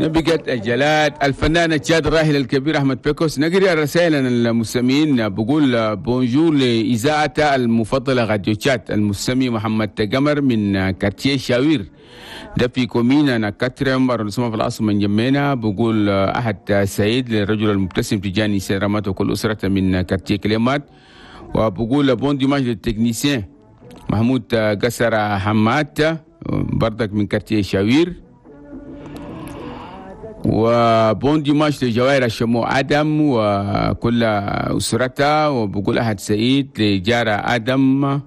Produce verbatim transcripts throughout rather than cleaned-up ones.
بقت الجلاد الفنان التشاد الراحل الكبير احمد بيكوس. نقرا الرسائل المستمعين. بقول bonjour لاذاعة المفضلة راديو تشاد، المستمع محمد قمر من quartier شاوير ده في commune انا quatrième arrondissement في العاصمة انجمينا. بقول احد سعيد للرجل المبتسم تجاني سيرامات وكل اسرته من quartier كليمات. وبقول bon dimanche لل technicien محمود قسر حماد بردك من quartier شاوير. و bon dimanche لجوائر الشمو ادم وكل اسرتها. وبقول احد سعيد لجارة ادم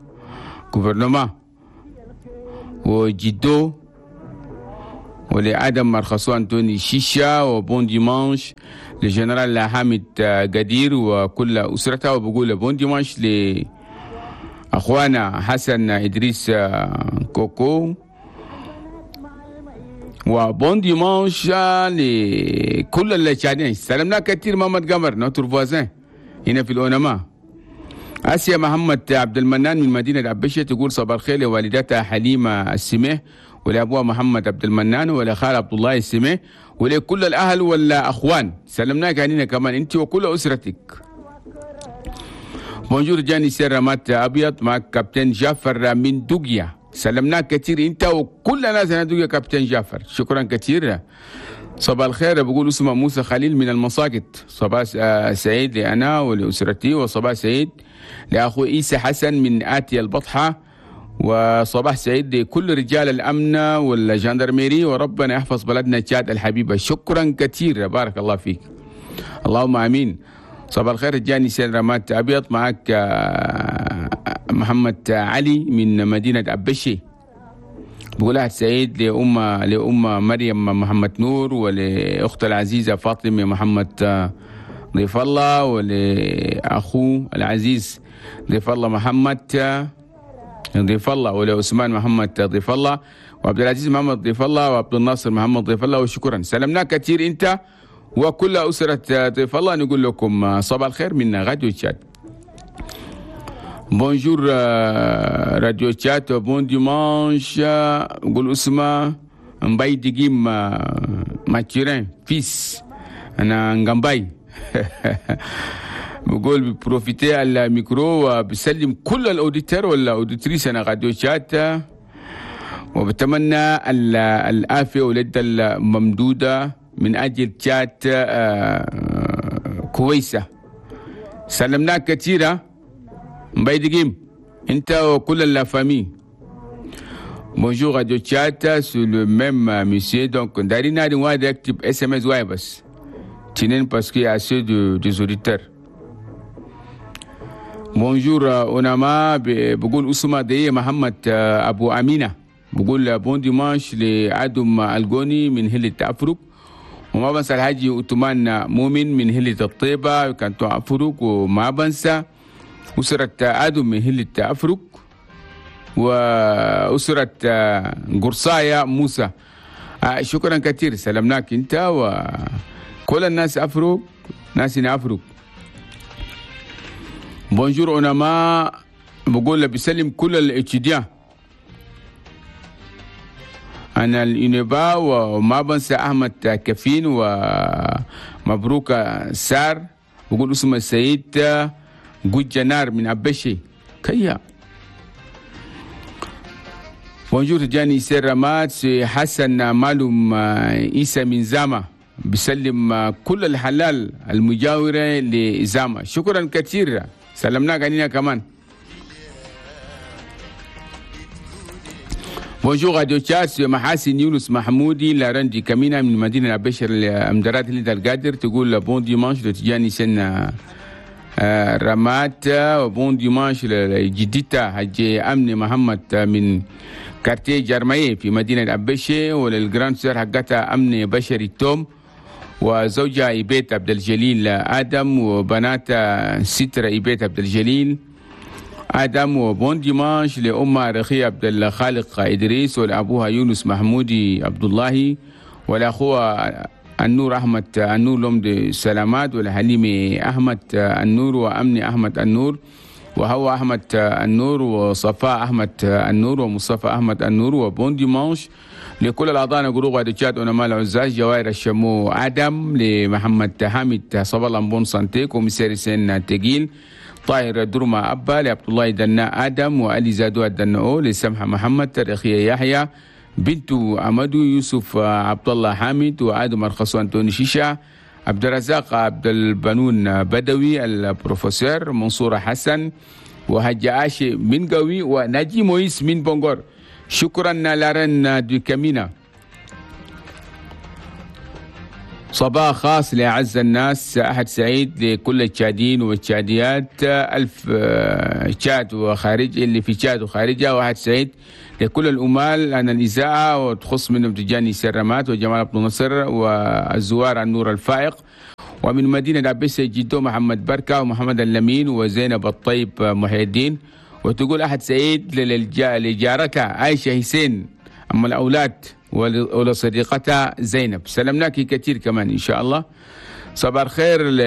gouvernement وجدو ولادم مرخصو انتوني شيشا. و bon dimanche لجنرال حامد قدير وكل اسرته. وبقول bon dimanche لاخوانا حسن ادريس كوكو. و bon dimanche لكل اللي سلمنا كثير محمد قمر notre voisin هنا في الأونما. آسيا محمد عبد المنان من مدينة عبشة تقول صباح الخير لوالدتها حليمة السميح ولأبوها محمد عبد المنان ولخال عبد الله السميح ولكل الأهل والأخوان. سلمناك علينا كمان أنت وكل أسرتك. bonjour جاني سير أبيض، معك كابتن جعفر من دوغيا. سلمناك كثير انت وكل ناس هنا دوغيا كابتن جعفر، شكرا كثير. صباح الخير بقول اسمه موسى خليل من المساقط. صباح سعيد لأنا ولأسرتي، وصباح سعيد لأخو عيسى حسن من آتي البطحة، وصباح سعيد لكل رجال الأمن وال gendarmerie، وربنا يحفظ بلدنا تشاد الحبيبة. شكرا كثير، بارك الله فيك، اللهم آمين. صباح الخير جاني سين رمات أبيض، معك محمد علي من مدينة أبشي. بقول أحد سعيد لأم لأم مريم محمد نور، ولأخت العزيزة فاطمة محمد ضيف الله، ولأخوه العزيز ضيف الله محمد ضيف الله، ولعثمان محمد ضيف الله، وعبد العزيز محمد ضيف الله، وعبد الناصر محمد ضيف الله. وشكرا، سلمنا كثير أنت وكل أسرة ضيف الله. نقول لكم صباح الخير من راديو تشاد. bonjour راديو تشاد، bon dimanche. نقول اسمه مباي ديجيم ماتيرين fils انا نغامباي. بقول ب profiter على الميكرو وبسلم كل ال auditeurs ولا auditrices انا راديو تشاد، وبتمنى العافية واليد الممدوده من اجل تشاد كويسة. سلمناك كثيرة مباي ديجيم انت وكل la famille. bonjour راديو تشاد، c'est le même monsieur. donc دارين نادي واحد يكتب SMS واحد بس تنين parce que assez de des auditeurs. bonjour اوناما، بقول اسمه دي محمد ابو امينه. بقول bon dimanche لادم الجوني من هلة افرق، وما بنسى الحاجي اوتمان مؤمن من هلة الطيبة canton افرق، وما بنسى أسرة آدم من هلة أفرق، وأسرة قرصايا موسى. شكرا كثير، سلمناك أنت وكل الناس أفرق، ناس أفرق. bonjour أوناما، بقول بسلم كل ال étudiants أنا الإنبا، وما بنسى أحمد كفين ومبروك سار. بقول اسمه السيد جنار من أبشي كيا. bonjour جاني سير رمات حسن مالوم عيسى من زاما، بسلم كل الحلال المجاورة لزاما. شكرا كثير، سلمناك علينا كمان. bonjour راديو تشاد، محاسن يونس محمودي لارندي كمينة من مدينة أبشر الأمدرات اللي القادر. تقول bon dimanche لتجاني سنة رمات، و bon dimanche لجدتها حجي أمني محمد من quartier جرمية في مدينة أبشي، ولل grande sœur حقتها أمني بشري توم، وزوجها إيبيت عبد الجليل آدم، وبناتها سترة إيبيت عبد الجليل آدم. و bon dimanche لأمها رخي عبد الخالق إدريس، ولأبوها يونس محمودي عبد الله، ولأخوها النور أحمد النور لومد سلامات، ولحليمي أحمد النور، وأمني أحمد النور، وهو أحمد النور، وصفاء أحمد النور، ومصطفى أحمد النور. و bon dimanche لكل الأعضاء groupe de tchad أونما العزاز جوائر الشمو آدم، لمحمد حامد صبا الله bonne santé، commissaire سين تقيل، طاهر درما أبا، لعبد الله دنا آدم، وألي زادو الدناو، لسمحة محمد، تاريخية يحيى، بنت أمدو، يوسف عبد الله حامد، وآدم أرخصو أنتوني شيشة، عبد الرزاق عبد البنون بدوي، البروفيسور منصور حسن، وهجا عاشي من قوي، وناجي مويس من بونغور. شكرا la reine de كامينا. صباح خاص لأعز الناس أحد سعيد لكل التشاديين والتشاديات، ألف تشاد وخارج اللي في تشاد وخارجها، وأحد سعيد لكل الأمال أن الإذاعة وتخص منهم تجاني سرمات وجمال عبد الناصر والزوار النور الفائق، ومن مدينة عبيسة جدو محمد بركة ومحمد اللمين وزينب الطيب محي الدين. وتقول أحد سعيد لجارتها عايشة حسين أم الأولاد ولصديقتها زينب. سلمناك كثير كمان إن شاء الله. صباح الخير ل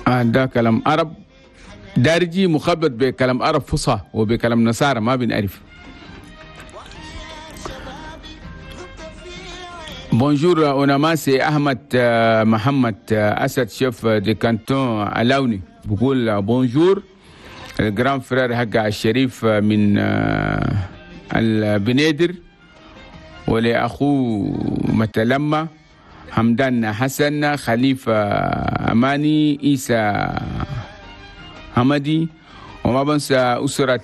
آه ده كلام عرب دارجي مخبط بكلام عرب فصحى وبكلام نصارى ما بنعرف. Bonjour أونما، c'est أحمد محمد أسد chef de canton علاوني، بقول bonjour ال grand frère حق الشريف من البنيدر، ولأخوه متلمة حمدان حسن، خليفة أماني، إيسى حمدي، وما بنسى أسرة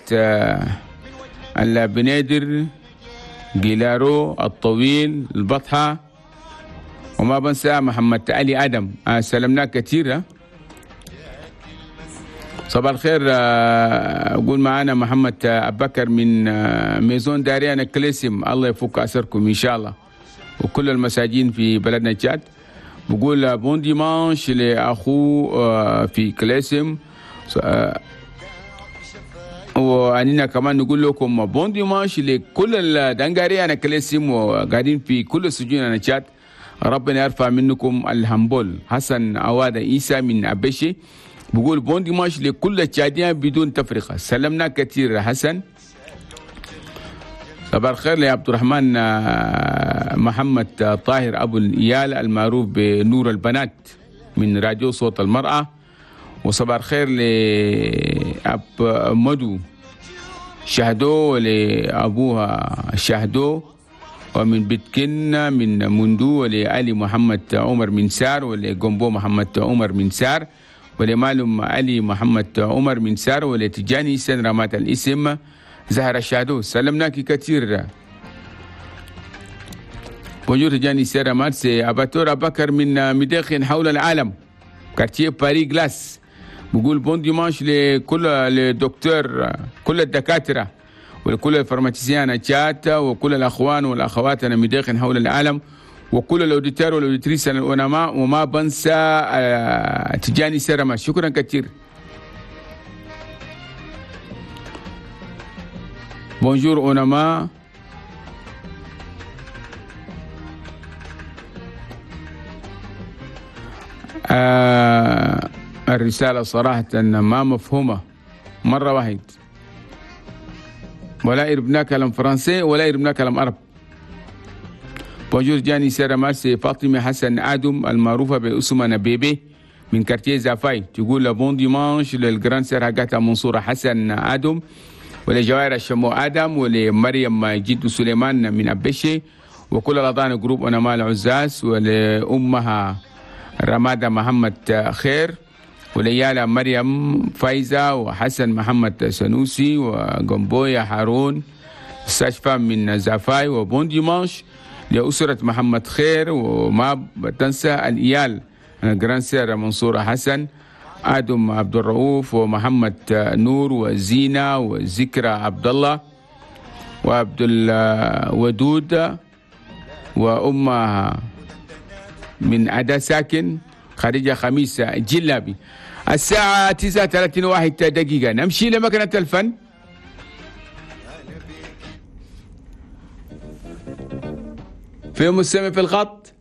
البنيدر جيلارو الطويل البطحة، وما بنسى محمد علي آدم. سلمناه كثير. صباح الخير. أقول معنا محمد أبكر من maison d'arrêt هنا كليسم، الله يفك أسركم إن شاء الله وكل المساجين في بلدنا تشاد. بقول bon dimanche لأخوه في كليسم، وأننا كمان نقول لكم bon dimanche لكل الدنقاري أنا كليسم وقاعدين في كل السجون أنا تشاد، ربنا يرفع منكم الهمبول. حسن عوادة عيسى من أبشي بقول bon dimanche لكل التشاديين بدون تفرقة. سلمنا كثير حسن. صباح الخير لعبد الرحمن محمد طاهر أبو الإيال المعروف بنور البنات من راديو صوت المرأة، وصباح الخير لأب مدو شهدو ولأبوها شهدو، ومن بيتكن من مندو، ولعلي محمد عمر من سار، ولجنبو محمد عمر من سار، ولمالم علي محمد عمر من سار، ولتجاني سن رمات الاسم زهرة شادو. سلمناك كثير. Bonjour تجاني سن رمات، c'est أباتور أبكر من مداخن حول العالم quartier باري جلاس، بقول bon dimanche لكل الدكتور، كل الدكاترة ولكل ال pharmaciens تشاد وكل الأخوان والأخوات أنا مداخن حول العالم، وكل ال auditeurs وال auditrices الأونما، وما بنسى تجاني سرما. شكرا كثير. Bonjour أونما. آه الرسالة صراحة ما مفهومة مرة واحد، ولا يربنا كلام فرنسي ولا يربنا كلام عرب. Bonjour جاني سيرما، c'est فاطمة حسن آدم المعروفة باسمنا بيبي من quartier زافاي، تقول bon dimanche لل grande sœur حقتها منصورة حسن آدم، ولجوائر الشمو آدم، ولمريم جد سليمان من أبشي، وكل الأعضاء groupe أونما العزاز، ولأمها رمادة محمد خير، وليالا مريم فايزة، وحسن محمد سنوسي، وجنبويا هارون sage-femme من زافاي. و bon dimanche لأسرة محمد خير، وما تنسى الإيال grande sœur منصورة حسن آدم عبد الرؤوف، ومحمد نور، وزينة، وذكرى عبد الله، وعبد الودود، وأمها من أدا ساكن خارجة خميس جلابي. الساعة تسعة وثلاثين واحد دقيقة، نمشي لمكنة الفن. في مستمع في الخط.